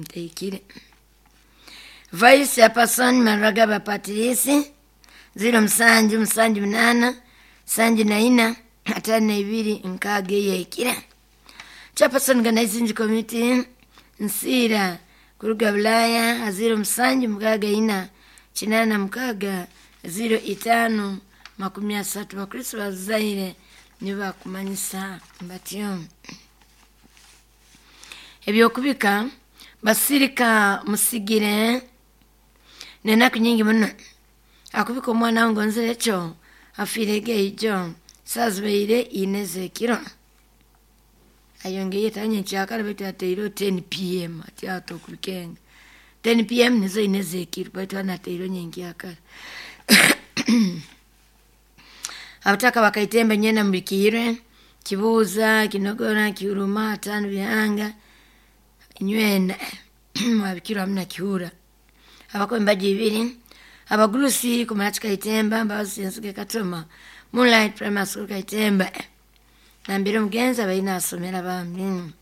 Teikire. Vice Chairperson Maragaba Patrice 0778 74 52 eyekira. Chairperson Organizing Committee Nsira kuruga Bulaya 0764 86 05 30. Bakristo bazaire nibakumanyisa batyo ebyokubika basirika musigire nenaku nyingi muno akubika omwana wange nzire ekyo afiire geijo sazibaire ine zekiro ayongeye tanye kyakala baitu ateireho 10 pm ati ata okubikenga 10 pm nizo ine zekiro baitu anateireho nyenkyakala. Abataka bakaitemba nyena mubikiirwe kibuuza kinogora kihuruma atano bihanga nywena mwabikirwa hamu na kihura abakumi mbaji ibiri abagurusi kumarachi Kaitemba Mbabazi Nsige Katoma Moonlight Primary School Kaitemba nambire omugenzi abaine asomera bambi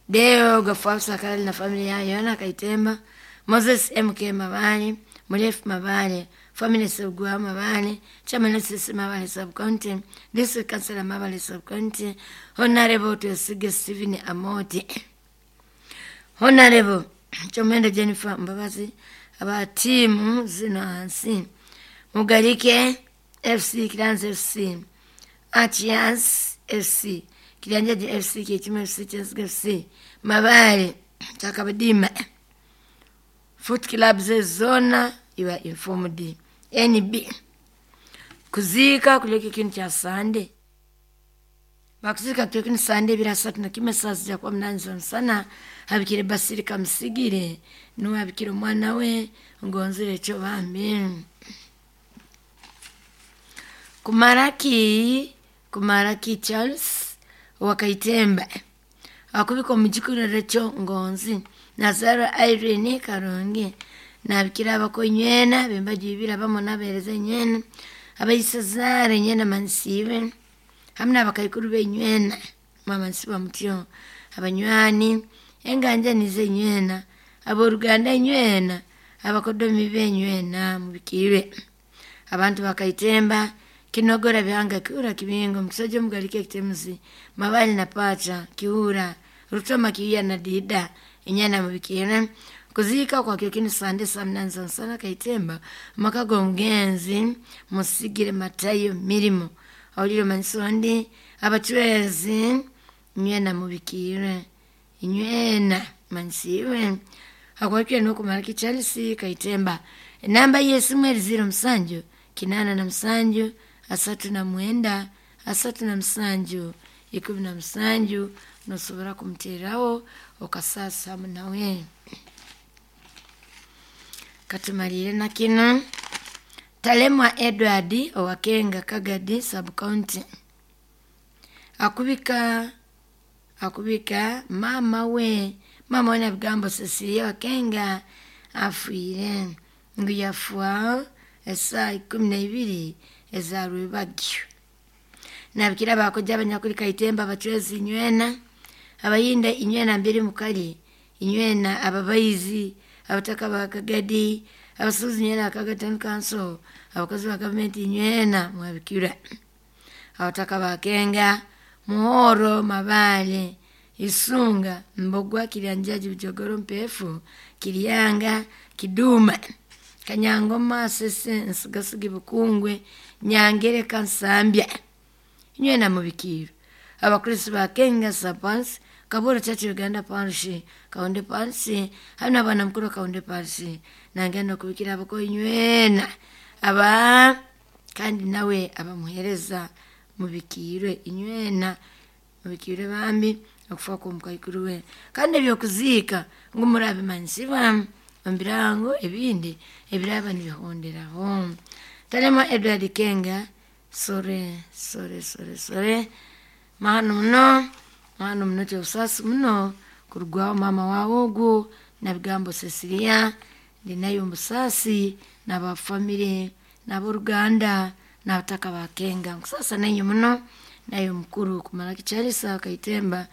Deo Gafuafusa Kalali na familia yayo yona Kaitemba Moses MK Mabale Murefu Mabale Family Sebugwa Mabale Chairman SC Mabale Sub County District Councilor Mabale Sub County Honorable Twesige Stephen Amoti Honorable Chomendo Jennifer Mbabazi aba tiimu zino hansi Mugarike FC Kiranzi FC Achias FC Kiryanjaji FC Kyekimu FC Kyensigo FC Mabale Kyakabadima Foot clubs zona you are informed. NB kuziika kuleka ekintu kya Sande bakuziika kuleka Sande ebiro asatu na kimwe saa zija kuba munani z'omusana habikire Basirika Musigire nuwe abikire omwana we ngonzire ekyo bambi. Kumaraki Charles owakaitemba akubika omugikuriro ekyo ngonzi Nazarwa Irene Karungi nabikira abakonywena bembaji ibiri abamu nabereza enywena abaisazara enywena mansibe hamu n'abakaikuru b'enywena mwamansiba mutyo abanywani enganja nizo enywena abooruganda enywena abakodomi b'enywena mubikiirwe abantu bakaitemba kinogora bihanga kihura kibingo mukisojo mugalike ekitemuzi mabali na pacha kihura rutoma kihiya na dida enywena mubikiire kuziika kwa kino Sande saa munani z'omusana Kaitemba amaka g'omugenzi Musigire Matayo Mirimo awulire omanyiso ndi abacwezi nywena mubikiirwe nywena manyisiibwe akwakire n'okumaraki Charles Kaitemba enamba y'esimu eri 07 87 39 37 17 nosobora kumuteeraho okasaasa hamu nawe. Katumalire na kino Talemwa Edward owakenga Kagadi Sub County akubika mama we nabigambo Cecilia Wakenga afiire ngu yafa esaa 12 eza rwebagyo. Nabikira abakoja abanyakuli Kaitemba abacwezi nywena abayinda inywena mbiri mukali inywena ababaizi abataka ba Kagadi abasuubuzi nywena Kagadi Town Council abakozi ba gavumenti nywena mwabikira abataka bakenga Muhoro Mabale Isunga Mbogwa Kiryanjaji Bujogoro Mpefu Kiryanga Kiduma Kanyangoma Sese Nsugasigi Bukungwe Nyangereka Nsambya nywena mubikiiro abakristo bakenga Sapans Kaburo Church Uganda Parish Kaonde Parish hamu n'abaana mukuru Kaonde Parish nangenda okubikira abakoyi nywena aba kandi nawe abamuheereza mubikiirwe inywena mubikiirwe bambi okufa kw'omukaikuru we kandi ebyokuziika ngu murabimanyisibwa omu birango ebindi ebiraba nibihonderaho. Talemwa Edward Kenga sore sore sore sore mahano muno kyobusaasi muno kurugwaho maama waawe ogu nabigambo Cecilia ndi nayo omubusaasi n'abafamire n'aboruganda n'abataka ba Kenga nkusaasa nainye muno. Naye omukuru kumara Kicharisa Kaitemba.